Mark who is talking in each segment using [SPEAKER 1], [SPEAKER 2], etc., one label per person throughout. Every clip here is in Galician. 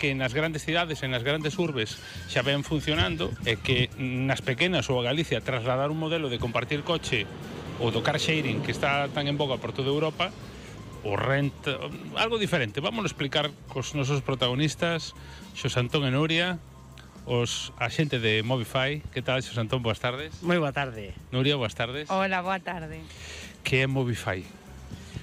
[SPEAKER 1] que nas grandes cidades e nas grandes urbes xa ven funcionando e que nas pequenas ou a Galicia trasladar un modelo de compartir coche ou do car sharing que está tan en boga por toda Europa, o rent, algo diferente. Vamos a explicar cos nosos protagonistas, Xosé Antón e Nuria, os axente de Movify. Que tal, Xosé Antón? Boas tardes.
[SPEAKER 2] Moi boa tarde.
[SPEAKER 1] Nuria, boas tardes.
[SPEAKER 3] Hola, boa tarde.
[SPEAKER 1] Que é Movify?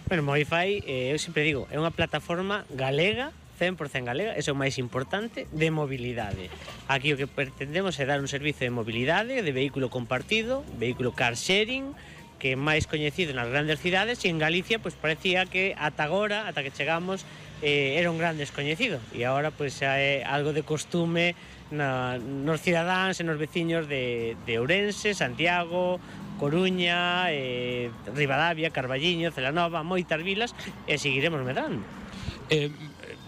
[SPEAKER 2] Bueno, Movify, eu sempre digo, é unha plataforma galega, 100% galega, eso é o máis importante, de mobilidade. Aquí o que pretendemos é dar un servizo de mobilidade, de vehículo compartido, vehículo car sharing, que é máis coñecido nas grandes cidades, e en Galicia pois parecía que ata agora, ata que chegamos, era un gran descoñecido, e agora pois xa é algo de costume nos cidadáns e nos veciños de Ourense, Santiago, Coruña, Ribadavia, Carballiño, Celanova, moitas vilas, e seguiremos medrando.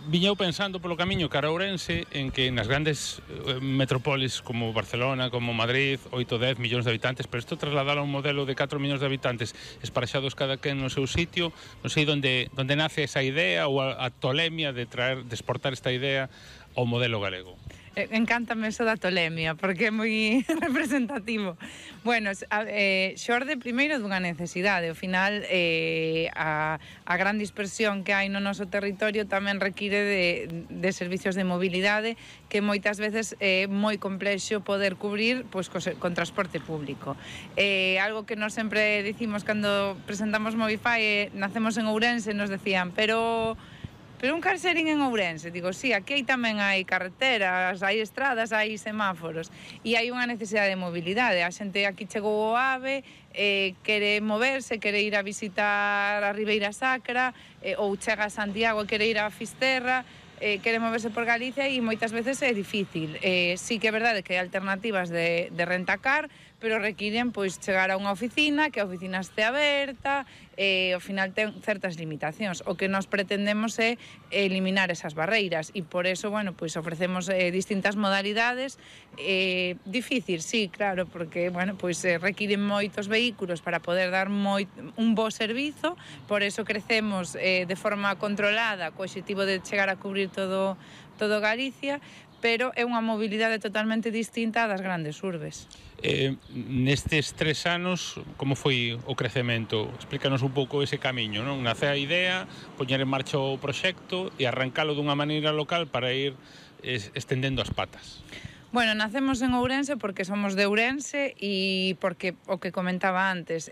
[SPEAKER 1] Viñeu pensando polo camiño cara a Ourense en que nas grandes metrópolis como Barcelona, como Madrid, 8 ou 10 millóns de habitantes, pero isto trasladar a un modelo de 4 millóns de habitantes esparexados cada quen no seu sitio, non sei onde nace esa idea ou a tolemia de exportar esta idea ao modelo galego.
[SPEAKER 3] Encántame eso da tolemia, porque é moi representativo. Bueno, xorde primeiro dunha necesidade. Ao final, a gran dispersión que hai no noso territorio tamén require de servicios de mobilidade que moitas veces é moi complexo poder cubrir pois, con transporte público. Algo que nos sempre dicimos cando presentamos Movify, nacemos en Ourense, nos decían, pero un car sharing en Ourense, digo, sí, aquí tamén hai carreteras, hai estradas, hai semáforos e hai unha necesidade de mobilidade. A xente aquí chegou ao AVE, quere moverse, quere ir a visitar a Ribeira Sacra, ou chega a Santiago e quere ir a Fisterra, quere moverse por Galicia e moitas veces é difícil. Sí que é verdade que hai alternativas de rentacar, pero requiren pois chegar a unha oficina, que a oficina este aberta, ao final ten certas limitacións. O que nos pretendemos é eliminar esas barreiras e por eso, bueno, pois ofrecemos distintas modalidades. Difícil, sí, claro, porque, bueno, pois requiren moitos vehículos para poder dar un bo servizo, por eso crecemos de forma controlada, co obxectivo de chegar a cubrir todo Galicia, pero é unha mobilidade totalmente distinta das grandes urbes.
[SPEAKER 1] Nestes 3 anos, como foi o crecemento? Explícanos un pouco ese camiño, non? Nace a idea, poñer en marcha o proxecto e arrancalo dunha maneira local para ir estendendo as patas.
[SPEAKER 3] Bueno, nacemos en Ourense porque somos de Ourense e porque, o que comentaba antes,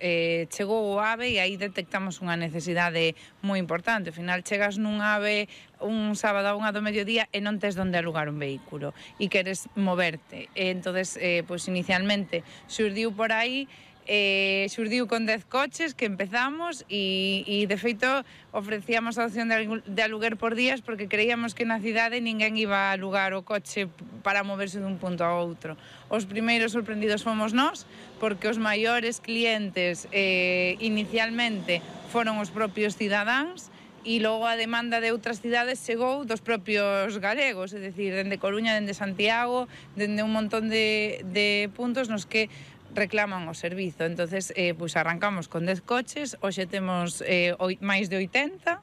[SPEAKER 3] chegou o AVE e aí detectamos unha necesidade moi importante. Ao final, chegas nun AVE un sábado a 1 do mediodía e non tes donde alugar un vehículo e queres moverte. Entonces, pois inicialmente xurdiu por aí, xurdiu con 10 coches que empezamos e de feito ofrecíamos a opción de aluguer por días porque creíamos que na cidade ninguén iba a alugar o coche para moverse dun punto a outro. Os primeiros sorprendidos fomos nós porque os maiores clientes inicialmente foron os propios cidadáns e logo a demanda de outras cidades chegou dos propios galegos, é dicir, dende Coruña, dende Santiago, dende un montón de puntos nos que reclaman o servizo. Entonces, pois arrancamos con 10 coches, hoxe temos máis de 80,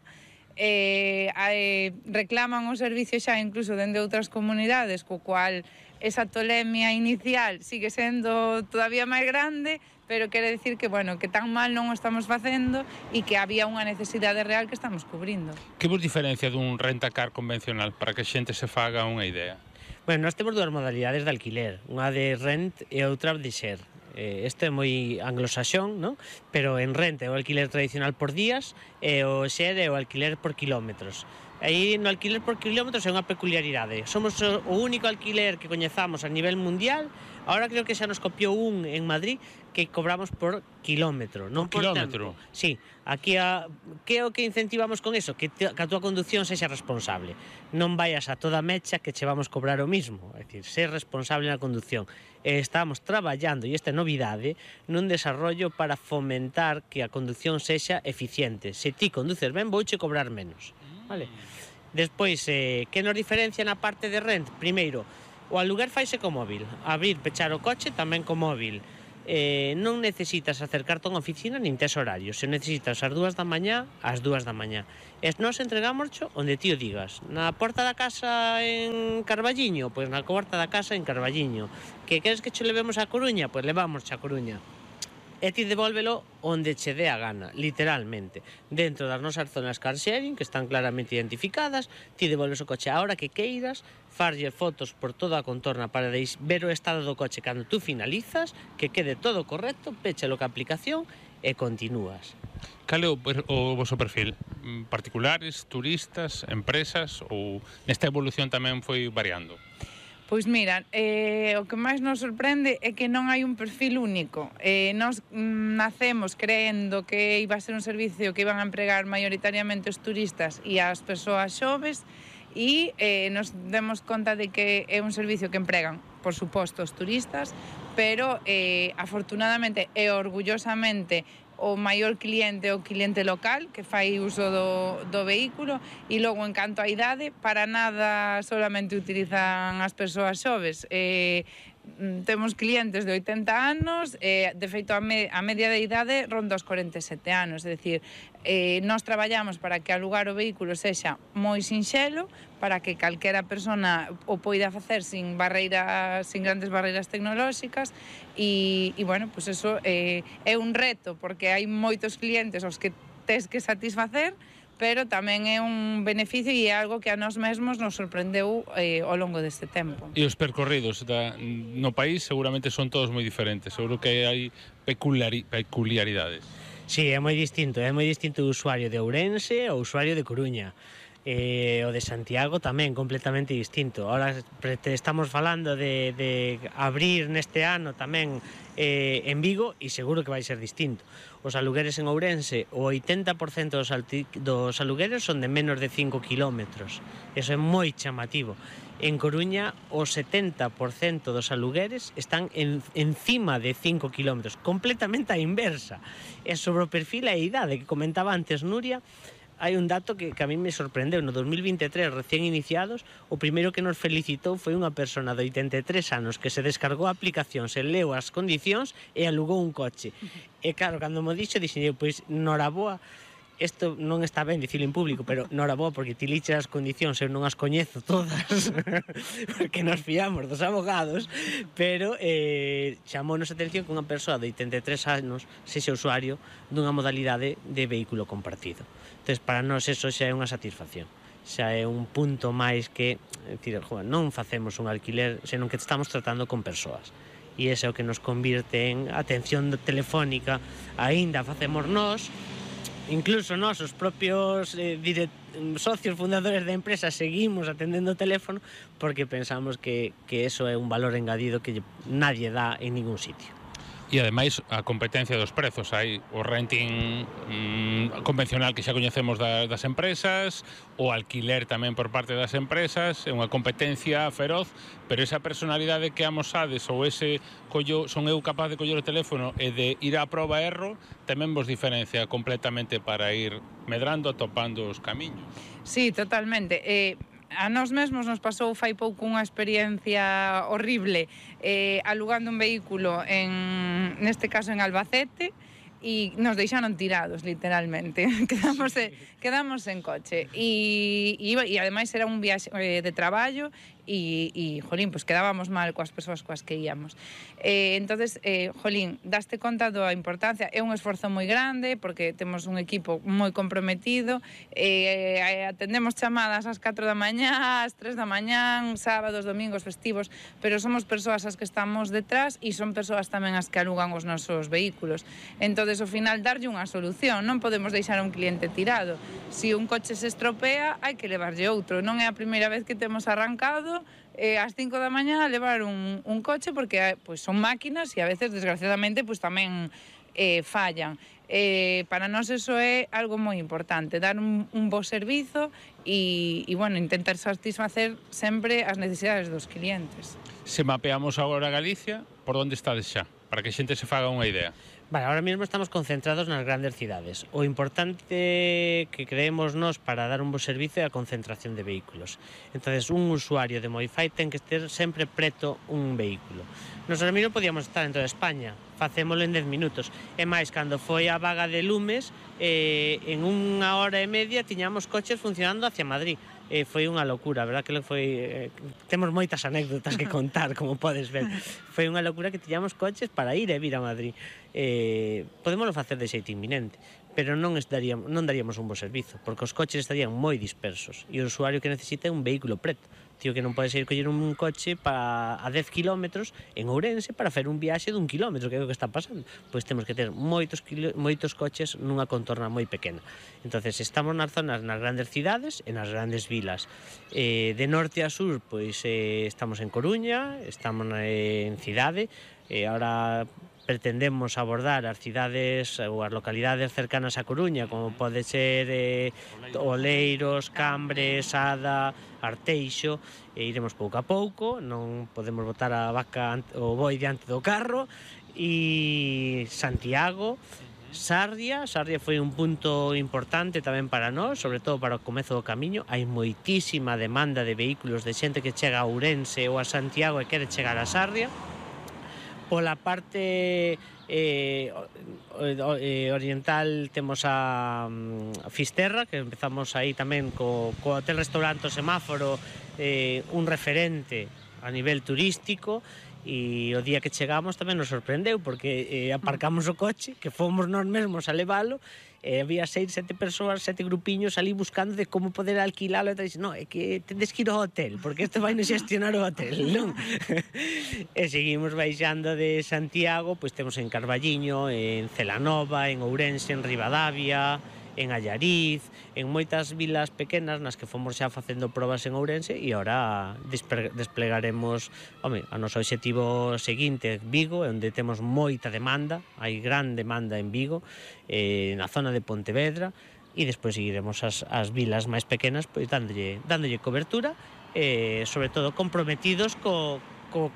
[SPEAKER 3] reclaman o servicio xa incluso dende outras comunidades, co cual esa tolemia inicial sigue sendo todavía máis grande, pero quere decir que, bueno, que tan mal non o estamos facendo e que había unha necesidade real que estamos cubrindo.
[SPEAKER 1] Que vos diferencia dun rentacar convencional para que a xente se faga unha idea?
[SPEAKER 2] Bueno, nós temos dúas modalidades de alquiler, unha de rent e outra de share. Isto é moi anglosaxón, non? Pero en rent é o alquiler tradicional por días e o share é o alquiler por kilómetros. Aí no alquiler por kilómetros é unha peculiaridade. Somos o único alquiler que coñezamos a nivel mundial. Ahora creo que xa nos copiou un en Madrid que cobramos por kilómetro, non por
[SPEAKER 1] kilómetro.
[SPEAKER 2] tempo. Sí, aquí que é o que incentivamos con eso? Que a túa conducción sexa responsable. Non vayas a toda mecha que che vamos cobrar o mismo. É dicir, ser responsable na conducción. Estamos traballando, e esta é novidade, nun desarrollo para fomentar que a conducción sexa eficiente. Se ti conduces ben, vouche cobrar menos. Vale? Despois, que nos diferencia na parte de rent? Primeiro, o aluguer faise co móvil. Abrir, pechar o coche tamén co móvil. non necesitas acercarte a unha oficina nin tes horario, se necesitas ás 2 da mañá, ás 2 da mañá. E nós entregámoscho onde ti o digas. Na porta da casa en Carballiño, pois na porta da casa en Carballiño. Que queres que che levemos a Coruña? Pois levamos a Coruña. E ti devólvelo onde che dé a gana, literalmente. Dentro das nosas zonas car sharing, que están claramente identificadas, ti devolves o coche a hora que queiras, farlle fotos por toda a contorna para ver o estado do coche cando tú finalizas, que quede todo correcto, péchalo ca aplicación e continúas.
[SPEAKER 1] Cal é o vosso perfil? Particulares, turistas, empresas ou nesta evolución tamén foi variando?
[SPEAKER 3] Pois mira, o que máis nos sorprende é que non hai un perfil único. Nos nacemos creendo que iba a ser un servicio que iban a empregar maioritariamente os turistas e as persoas xoves e nos demos conta de que é un servicio que empregan, por suposto, os turistas, pero afortunadamente e orgullosamente o maior cliente é o cliente local que fai uso do vehículo e logo en canto á idade para nada solamente utilizan as persoas xoves. Temos clientes de 80 anos, de feito a media de idade ronda os 47 anos, é dicir, nós traballamos para que alugar o vehículo sexa moi sinxelo, para que calquera persona o poida facer sin grandes barreiras tecnolóxicas e bueno, pues eso é un reto, porque hai moitos clientes aos que tes que satisfacer, pero tamén é un beneficio e é algo que a nós mesmos nos sorprendeu ao longo deste tempo.
[SPEAKER 1] E os percorridos no país seguramente son todos moi diferentes, seguro que hai peculiaridades.
[SPEAKER 2] Sí, é moi distinto o usuario de Ourense ao usuario de Coruña. O de Santiago tamén completamente distinto. Ahora estamos falando de abrir neste ano tamén en Vigo e seguro que vai ser distinto. Os alugueres en Ourense, o 80% dos alugueres son de menos de 5 kilómetros. Eso é moi chamativo. En Coruña, o 70% dos alugueres están encima de 5 kilómetros, completamente a inversa. E sobre o perfil e a idade que comentaba antes Nuria, hai un dato que a mí me sorprendeu. No 2023, recién iniciados, o primeiro que nos felicitou foi unha persona de 83 anos que se descargou a aplicación, se leu as condicións e alugou un coche. E claro, cando mo dixo, dixen, pois, noraboa, isto non está ben dicilo en público, pero noraboa, porque ti liches as condicións, eu non as coñezo todas, porque nos fiamos dos abogados, pero chamounos a atención que unha persoa de 83 anos sexa usuario dunha modalidade de vehículo compartido. Entón, para nós eso xa é unha satisfacción, xa é un punto máis que, non facemos un alquiler, senón que estamos tratando con persoas. E ese é o que nos convirte en atención telefónica, aínda facemos nós, incluso nós, os propios socios fundadores da empresa, seguimos atendendo o teléfono porque pensamos que eso é un valor engadido que nadie dá en ningún sitio.
[SPEAKER 1] E ademais a competencia dos prezos, hai o renting convencional que xa coñecemos das empresas, o alquiler tamén por parte das empresas, é unha competencia feroz, pero esa personalidade que amosades ou ese son eu capaz de coller o teléfono e de ir á proba e erro, tamén vos diferencia completamente para ir medrando, atopando os camiños.
[SPEAKER 3] Sí, totalmente. A nós mesmos nos pasou fai pouco unha experiencia horrible alugando un vehículo, neste caso en Albacete, e nos deixaron tirados, literalmente. Quedamos en coche. E ademais era un viaxe de traballo e jolín, pues quedábamos mal coas persoas coas que íamos. Entonces, jolín, daste conta da importancia, é un esforzo moi grande porque temos un equipo moi comprometido, atendemos chamadas ás 4 da mañá, ás 3 da mañá, sábados, domingos, festivos, pero somos persoas as que estamos detrás e son persoas tamén as que alugan os nosos vehículos. Entonces, ao final, darlle unha solución, non podemos deixar a un cliente tirado. Se un coche se estropea, hai que levarlle outro. Non é a primeira vez que temos arrancado ás 5 da mañá a levar un coche porque son máquinas e a veces, desgraciadamente, tamén fallan. Para nós eso é algo moi importante, dar un bo servizo e bueno, intentar satisfacer sempre as necesidades dos clientes.
[SPEAKER 1] Se mapeamos agora Galicia, por onde estades xa? para que a xente se faga unha idea.
[SPEAKER 2] Vale, ahora mesmo estamos concentrados nas grandes cidades. O importante que creemos nós para dar un bo servicio é a concentración de vehículos. Entonces, un usuario de Modify ten que ter sempre preto un vehículo. Nos ahora mesmo podíamos estar en toda España, facémolo en 10 minutos. E máis, cando foi a vaga de lumes, en 1 hora e media tiñamos coches funcionando hacia Madrid. Foi unha locura, verdad que foi... temos moitas anécdotas que contar, como podes ver. Foi unha locura que tiñamos coches para ir e vir a Madrid. Podémoslo facer de xeito inminente, pero non daríamos un bo servizo, porque os coches estarían moi dispersos e o usuario que necesita é un vehículo preto. Tío, que non podes ir coller un coche a 10 kilómetros en Ourense para fer un viaxe dun kilómetro, que é o que está pasando. Pois temos que ter moitos coches nunha contorna moi pequena. Entonces, estamos nas zonas, nas grandes cidades e nas grandes vilas. De norte a sur, pois estamos en Coruña, estamos en Cidade, ahora pretendemos abordar as cidades ou as localidades cercanas a Coruña, como pode ser Oleiros, Cambre, Sada, Arteixo, e iremos pouco a pouco, non podemos botar a vaca o boi diante do carro. E Santiago, Sarria foi un punto importante tamén para nós, sobre todo para o comezo do camiño. Hai moitísima demanda de vehículos de xente que chega a Ourense ou a Santiago e quere chegar a Sarria. Pola parte oriental temos a Fisterra, que empezamos aí tamén co hotel restaurante Semáforo, un referente a nivel turístico, e o día que chegamos tamén nos sorprendeu, porque aparcamos o coche, que fomos nós mesmos a leválo, e había 6, 7 persoas, 7 grupiños ali buscando de como poder alquilalo, e dixen, no, é que tendes que ir ao hotel, porque isto vai nos xestionar o hotel, non? E seguimos baixando de Santiago, pois temos en Carballiño, en Celanova, en Ourense, en Ribadavia, en Allariz, en moitas vilas pequenas nas que fomos xa facendo probas en Ourense, e agora desplegaremos, a noso objetivo seguinte, Vigo, onde temos moita demanda, hai gran demanda en Vigo, na zona de Pontevedra, e despois seguiremos as vilas máis pequenas, pois dándolle cobertura, sobre todo comprometidos co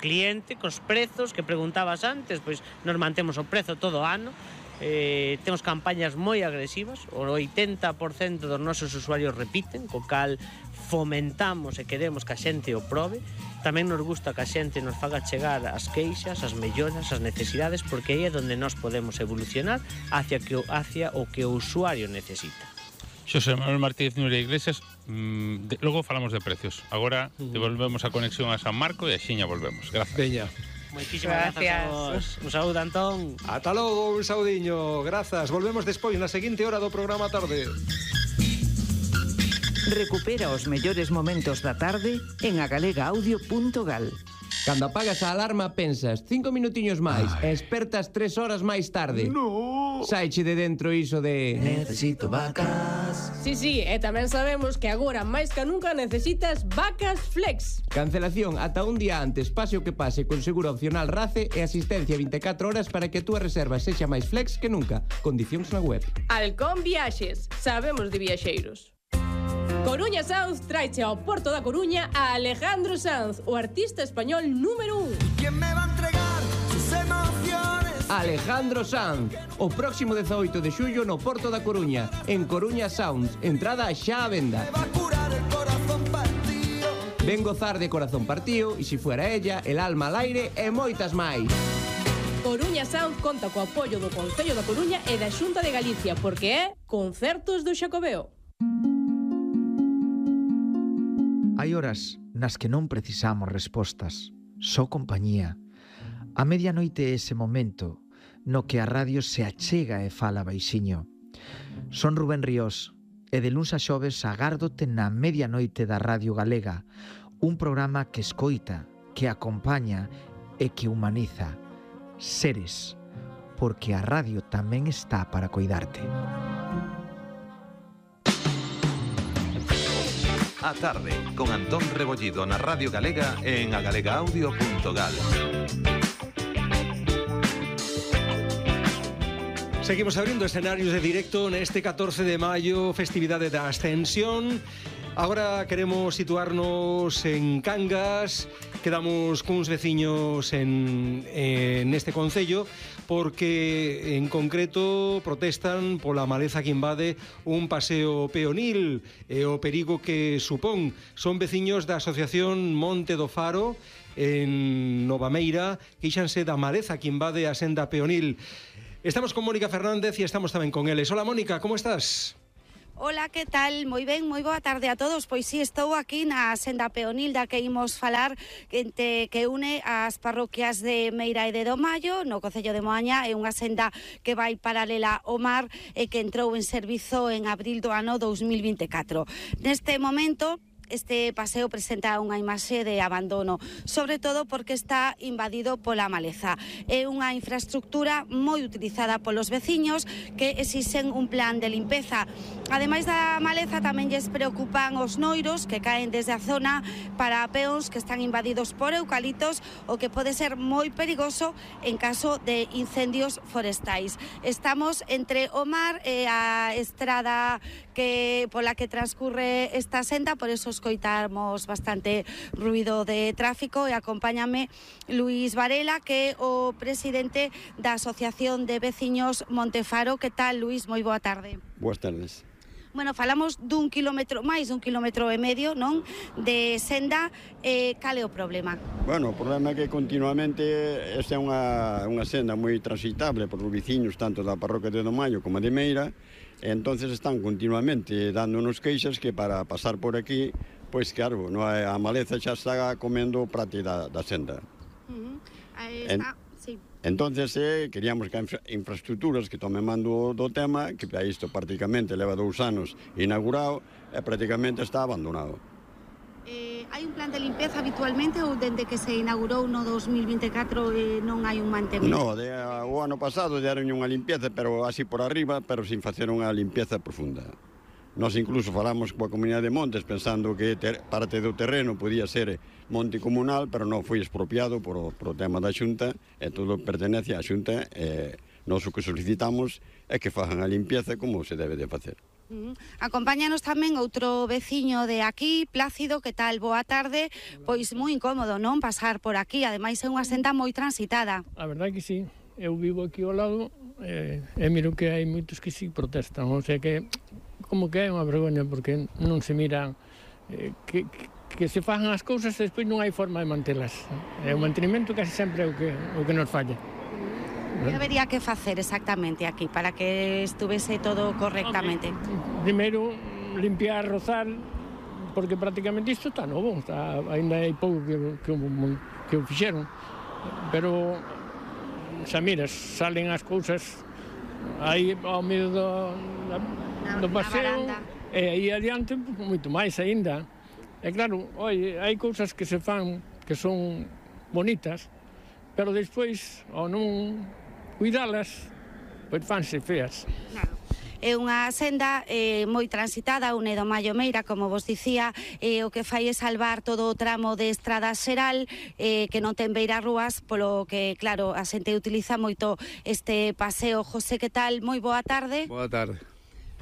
[SPEAKER 2] cliente, cos prezos que preguntabas antes, pois nos mantemos o prezo todo o ano. Temos campañas moi agresivas, o 80% dos nosos usuarios repiten, co cal fomentamos e queremos que a xente o probe. Tamén nos gusta que a xente nos faga chegar as queixas, as melloras, as necesidades, porque aí é onde nós podemos evolucionar hacia o que o usuario necesita.
[SPEAKER 1] Xosé Manuel Martínez Núria Iglesias, logo falamos de precios. Agora devolvemos a conexión a San Marco e axiña volvemos. Gracias.
[SPEAKER 4] Veña.
[SPEAKER 2] Moitísimas grazas a vos. Un saúdo, Antón.
[SPEAKER 4] Ata logo, un saudiño. Grazas. Volvemos despois na seguinte hora do programa tarde.
[SPEAKER 5] Recupera os mellores momentos da tarde en agalegaudio.gal.
[SPEAKER 6] Cando apagas a alarma pensas 5 minutiños máis e espertas 3 horas máis tarde.
[SPEAKER 4] No.
[SPEAKER 6] Saiche de dentro iso de...
[SPEAKER 7] Necesito vacas.
[SPEAKER 8] Sí, e tamén sabemos que agora máis que nunca necesitas vacas flex.
[SPEAKER 6] Cancelación ata un día antes, pase o que pase, con seguro opcional RACE e asistencia 24 horas para que a túa reserva sexa máis flex que nunca. Condicións na web.
[SPEAKER 8] Halcón Viaxes, sabemos de viaxeiros. Coruña Sounds traiche ao Porto da Coruña a Alejandro Sanz, o artista español número 1.
[SPEAKER 7] ¿Quién me va a entregar sus emociones?
[SPEAKER 6] Alejandro Sanz, o próximo 18 de xullo no Porto da Coruña, en Coruña Sounds, entrada xa á venda.
[SPEAKER 7] Me va a curar el corazón partido.
[SPEAKER 6] Ven gozar de Corazón Partido, e si fuera ella, El alma al aire e moitas máis.
[SPEAKER 8] Coruña Sound conta co apoio do Concello da Coruña e da Xunta de Galicia, porque é Concertos do Xacobeo.
[SPEAKER 9] Hai horas nas que non precisamos respostas, só compañía. A medianoite é ese momento no que a radio se achega e fala baixiño. Son Rubén Ríos e de luns a xoves agárdote na medianoite da Radio Galega, un programa que escoita, que acompaña e que humaniza. Seres, porque a radio tamén está para coidarte.
[SPEAKER 10] A tarde, con Antón Rebollido na Radio Galega e en agalegaudio.gal.
[SPEAKER 4] Seguimos abrindo escenarios de directo neste 14 de maio, festividade da Ascensión. Agora queremos situarnos en Cangas. Quedamos cuns veciños neste concello porque en concreto protestan pola maleza que invade un paseo peonil e o perigo que supón. Son veciños da Asociación Monte do Faro en Novameira, queixanse da maleza que invade a senda peonil. Estamos con Mónica Fernández e estamos tamén con eles. Hola Mónica, como estás?
[SPEAKER 11] Ola, que tal? Moi ben, moi boa tarde a todos. Pois si, estou aquí na senda peonil da que imos falar, que une as parroquias de Meira e de Domallo, no concello de Moaña. É unha senda que vai paralela ao mar e que entrou en servizo en abril do ano 2024. Neste momento, este paseo presenta unha imaxe de abandono, sobre todo porque está invadido pola maleza. É unha infraestructura moi utilizada polos veciños que exixen un plan de limpeza. Ademais da maleza, tamén lles preocupan os noiros que caen desde a zona para peóns que están invadidos por eucaliptos, o que pode ser moi perigoso en caso de incendios forestais. Estamos entre o mar e a estrada pola que transcurre esta senda, por eso escoitamos bastante ruido de tráfico, e acompáñame Luís Varela, que é o presidente da Asociación de Veciños Montefaro. Que tal, Luís? Moi boa tarde.
[SPEAKER 12] Boas tardes.
[SPEAKER 11] Bueno, falamos dun kilómetro, máis dun kilómetro e medio, non? De senda. Cal é o problema?
[SPEAKER 12] Bueno, o problema é que continuamente esta é unha senda moi transitable por os veciños, tanto da parroquia de Domallo como de Meira, e entonces están continuamente dándonos queixas que para pasar por aquí, pois claro, a maleza xa está comendo parte da senda.
[SPEAKER 11] Sí.
[SPEAKER 12] Entonces queríamos que infraestructuras que tomen mando do tema, que para isto prácticamente leva 2 anos inaugurado e prácticamente está abandonado.
[SPEAKER 11] Hai un plan de limpeza habitualmente ou dende que se inaugurou no 2024 non hai un mantemento?
[SPEAKER 12] No, o ano pasado deron unha limpieza, pero así por arriba, pero sin facer unha limpieza profunda. Nós incluso falamos coa Comunidade de Montes pensando que parte do terreno podía ser monte comunal, pero non foi expropiado por o tema da Xunta, e todo pertenece á Xunta, e nós o que solicitamos é que fagan a limpieza como se debe de facer.
[SPEAKER 11] Acompáñanos tamén outro veciño de aquí, Plácido. Que tal? Boa tarde. Pois moi incómodo, non? Pasar por aquí, ademais é unha senda moi transitada.
[SPEAKER 13] A verdade que sí, eu vivo aquí ao lado e miro que hai moitos que sí protestan, o sea que como que é unha vergoña porque non se miran que se fajan as cousas e despois non hai forma de mantelas. O mantenimento casi sempre é o que nos falla.
[SPEAKER 11] Que habería que facer exactamente aquí para que estuvese todo correctamente?
[SPEAKER 13] Primeiro, limpiar, rozar, porque prácticamente isto está novo, ainda hai pouco que o fixeron, pero xa miras, salen as cousas aí ao medio do paseo e aí adiante moito máis aínda. E claro, hai cousas que se fan que son bonitas, pero despois, ao non cuidalas, pois fanse feas.
[SPEAKER 11] Claro. É unha senda moi transitada, une Domallo Meira, como vos dicía, o que fai é salvar todo o tramo de estrada xeral, que non ten beirarrúas, polo que, claro, a xente utiliza moito este paseo. José, que tal? Moi boa tarde.
[SPEAKER 14] Boa tarde.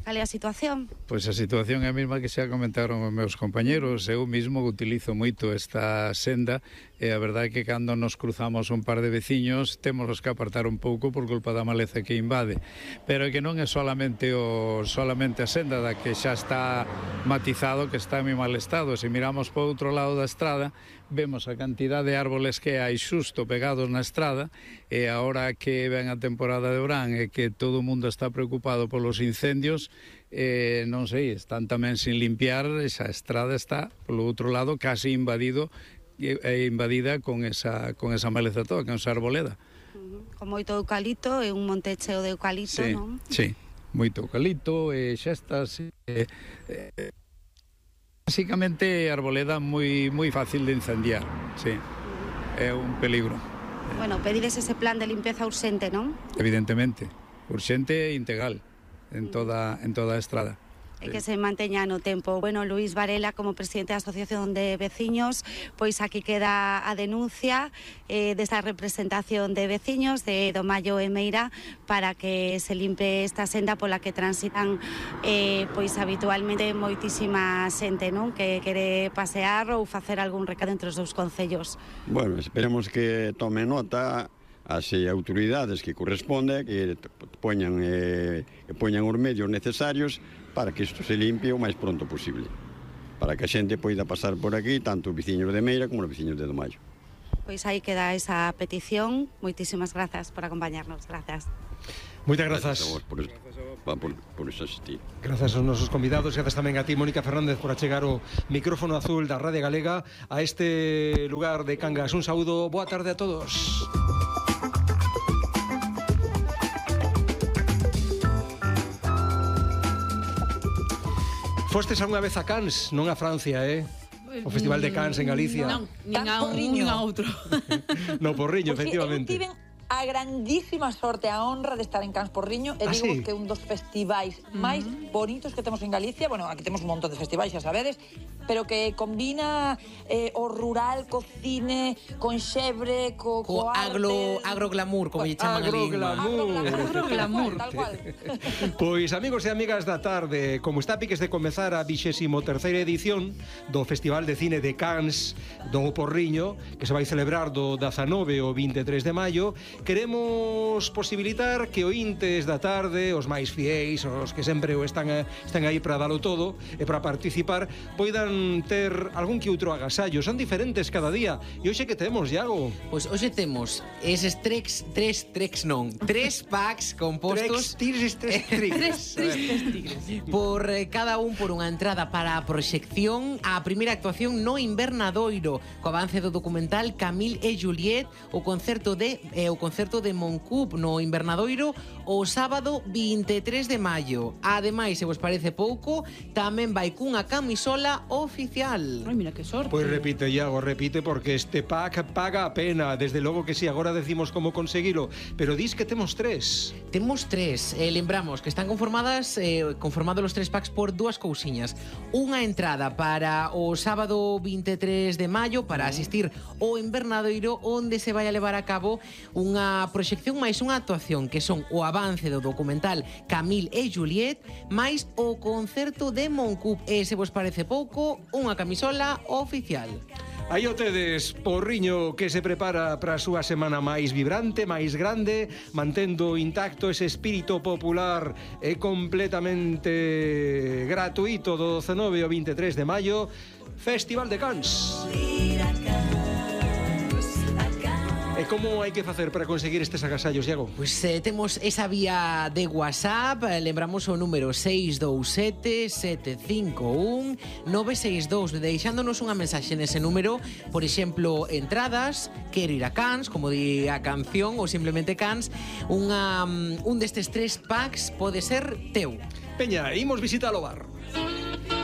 [SPEAKER 11] Cal é a situación?
[SPEAKER 14] Pois a situación é a mesma que xa comentaron os meus compañeros. Eu mismo utilizo moito esta senda e a verdade é que cando nos cruzamos un par de veciños temos que apartar un pouco por culpa da maleza que invade. Pero é que non é solamente a senda da que xa está matizado, que está en moi mal estado. Se miramos por outro lado da estrada, vemos a cantidad de árboles que hai xusto pegados na estrada, e agora que ven a temporada de verán e que todo o mundo está preocupado polos incendios, non sei, están tamén sin limpiar. Esa estrada está, polo outro lado, casi invadida con esa maleza toda, con esa arboleda.
[SPEAKER 11] Con moito eucalipto, é un monte cheo de eucalipto,
[SPEAKER 14] sí,
[SPEAKER 11] non?
[SPEAKER 14] Sí, moito eucalipto e xestas. Básicamente, a arboleda moi fácil de incendiar, sí, é un peligro.
[SPEAKER 11] Bueno, pedides ese plan de limpeza urxente, non?
[SPEAKER 14] Evidentemente, urxente e integral en toda a estrada.
[SPEAKER 11] E que se manteña no tempo. Bueno, Luís Varela, como presidente da Asociación de Veciños, pois aquí queda a denuncia desta representación de veciños de Domallo e Meira para que se limpe esta senda pola que transitan pois habitualmente moitísima xente, non? Que quere pasear ou facer algún recado entre os dous concellos.
[SPEAKER 12] Bueno, esperemos que tome nota as autoridades que corresponde, que poñan os medios necesarios para que isto se limpie o máis pronto posible, para que a xente poida pasar por aquí, tanto os veciños de Meira como os veciños de Domallo.
[SPEAKER 11] Pois aí queda esa petición. Moitísimas grazas por acompañarnos. Grazas.
[SPEAKER 4] Moitas grazas.
[SPEAKER 12] Por asistir.
[SPEAKER 4] Grazas aos nosos convidados, grazas tamén a ti, Mónica Fernández, por achegar o micrófono azul da Radio Galega a este lugar de Cangas. Un saúdo, boa tarde a todos. Fostes algunha vez a Cannes, non a Francia, o Festival de Cannes en Galicia.
[SPEAKER 15] Non, nin a outro.
[SPEAKER 4] No Porriño, efectivamente.
[SPEAKER 15] A grandísima sorte, a honra de estar en Cans Porriño e digo
[SPEAKER 4] sí?
[SPEAKER 15] que é un dos festivais máis bonitos que temos en Galicia. Bueno, aquí temos un montón de festivais, xa sabedes, pero que combina o rural co cine, con xebre, co arte...
[SPEAKER 16] Agroglamour, como lle chaman ali.
[SPEAKER 15] Agroglamour, tal cual.
[SPEAKER 4] Pois, amigos e amigas da tarde, como está a piques de comezar a 23ª edición do Festival de Cine de Cannes do Porriño, que se vai celebrar do 19 ao 23 de maio, queremos posibilitar que ointes da tarde, os máis fiéis, os que sempre están aí para dalo todo e para participar, poidan ter algún que outro agasallo. Son diferentes cada día. E hoxe que temos, Iago?
[SPEAKER 16] Pois hoxe temos eses tres packs compostos
[SPEAKER 4] tres tigres
[SPEAKER 16] por cada un por unha entrada para a proxección a primeira actuación no Invernadoiro, co avance do documental Camille et Juliette, o concerto de Moncup no Invernadoiro o sábado 23 de maio. Ademais, se vos parece pouco, tamén vai cunha camisola oficial.
[SPEAKER 15] Ai, mira que sorte.
[SPEAKER 4] Pois repite, Iago, repite, porque este pack paga a pena. Desde logo que si, agora decimos como conseguilo, pero dis que temos tres.
[SPEAKER 16] Temos tres. Lembramos que están conformados os tres packs por dúas cousiñas. Unha entrada para o sábado 23 de maio para asistir ao Invernadoiro, onde se vai a levar a cabo unha proxección máis unha actuación, que son o avance do documental Camille et Juliette máis o concerto de Moncup. E se vos parece pouco, unha camisola oficial.
[SPEAKER 4] Aí o tedes, Porriño, que se prepara para a súa semana máis vibrante, máis grande, mantendo intacto ese espírito popular e completamente gratuito do 19 ao 23 de maio, Festival de Cannes. E como hai que facer para conseguir estes agasallos, Iago?
[SPEAKER 16] Pois temos esa vía de WhatsApp, lembramos o número 627-751-962, deixándonos unha mensaxe nese número, por exemplo, entradas, quero ir a Cannes, como di a canción, ou simplemente Cannes, un destes tres packs pode ser teu.
[SPEAKER 4] Peña, imos visitar o bar.